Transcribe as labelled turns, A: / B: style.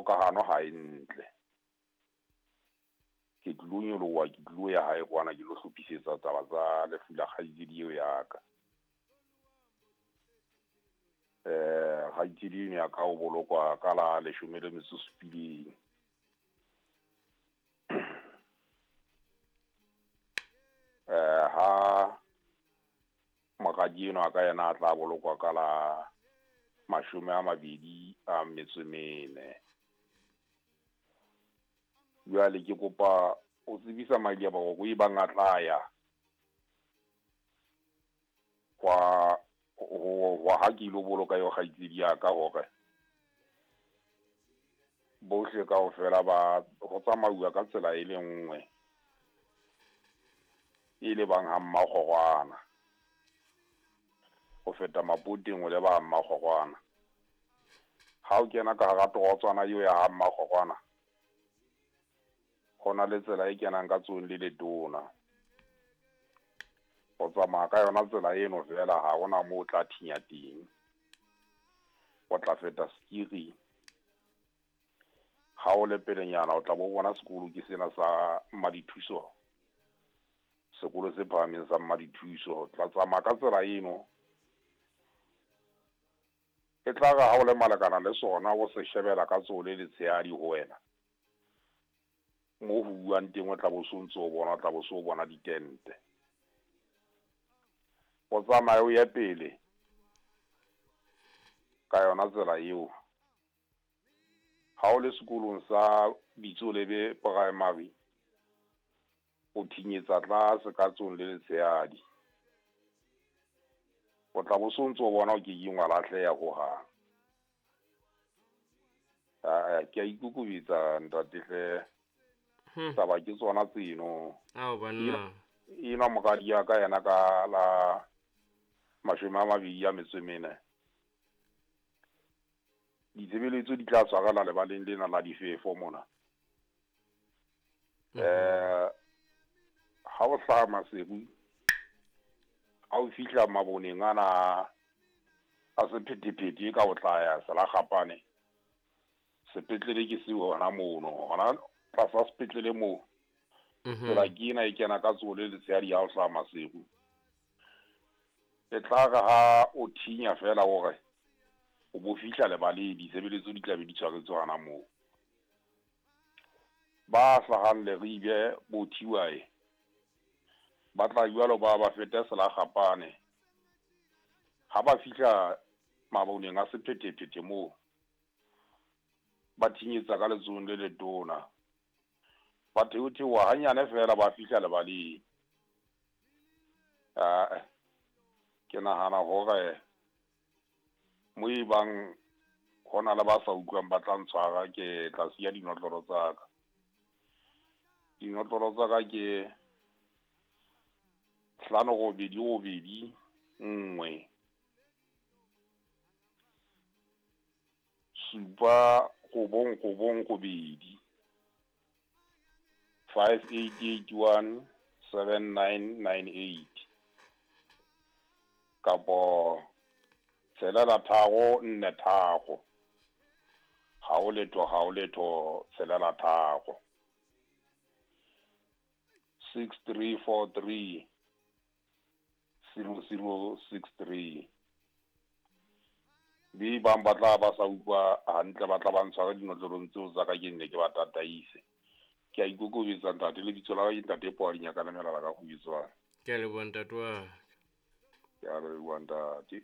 A: Kgokahano ha e ntle. Ke tlilo nyoloha, ke tlilo ya hae kwana ke lo hlophisetsa taba tsa lefu la kgaitsedi eo ya ka. Kgaitsedi eno ya ka o bolokwa ka la 17. Ha moradi enwa ka yena a tla bolokwa ka la 24. Jwale ke kopa o tsebisa madi a boroko e bang a tla ya kwa ho ha ke ilo boloka eo kgaitsedi ya ka hore bohle kaofela ba ho tsamauwa ka tsela e le nngwe e le bang ha Mmakgorwana. Ho feta Mapoteng o leba ha Mmakgorwana. Ha o kena ka hara torotswana eo ya ha Mmakgorwana, ho na le tsela e kenang ka tsohong le letona. O tsamaya ka yona tsela eno fela, ha hona moo o tla thinya teng. O tla feta Skiri. Ha o le pelenyana o tla bo bona sekolo ke sena sa Mmadithuso. Sekolo se phahameng sa Mmadithuso. O tla tsamaya ka tsela eno. E tla re ha o le malekana le sona, o se shebela ka tsoho le letshehadi ho wena. Mo ho buang teng o tla bo so ntso o bona, o tla bo so bona ditente. O tsamaye o ye pele ka yona tsela eo. Ha o le sekolong sa Bitsolebe Primary, o thinyetsa tlase ka tsohong le letshehadi. O tla bo so ntso o bona o ke keng wa lahleha hohang. Ke a ikokobetsa ntate hle. Taba ke tsona tseno.
B: Ao banna.
A: Enwa moradi ya ka yena ka la 24. Ditshebeletso di tla tshwarela lebaleng lena la difefo mona. Ha o hlaha Maseru, ha o fihla maboneng ana a sephethephethe ka o tla ya Selakgapane, sepetlele ke seo hona mono, hona tlasa sepetlele moo. Tsela ke ena e kena ka tsoho le letshehadi ha o hlaha Maseru. E tla re ha o thinya fela hore o bo fihla lebaleng, ditshebeletso di tla be di tshwaretswe hona moo. Ba hlahang Leribe bo Thiwae ba tla jwalo ba ba fete Selakgapane. Ha ba fihla maboneng a sephethephethe moo, ba thinyetsa ka letsohong le letona. Ba theotheoha hanyane fela ba fihla lebaleng. Ke nahana hore mo e bang hona le ba sa utlwang ba tla ntshwara, ke tla siya dinotlolo tsa ka. Dinotlolo tsa ka ke 5 8 8 1 7 9 9 8 5 8 8 1 7 9 9 8 kapo 6 3 4 3 0 0 0 6 3 6 3 4 3 0 0 6 3. Be bang ba tla ba sa utlwa hantle, ba tla ba ntshwara dinotlolong tseo tsa ka, ke nne ke ba tataise. Ke a ikokobetsa ntate, lebitso la ka ke ntate Poa Dinyakana Melala ka Kgubetswana.
B: Ke a leboha ntate wa ka.
A: Ke a leboha ntate.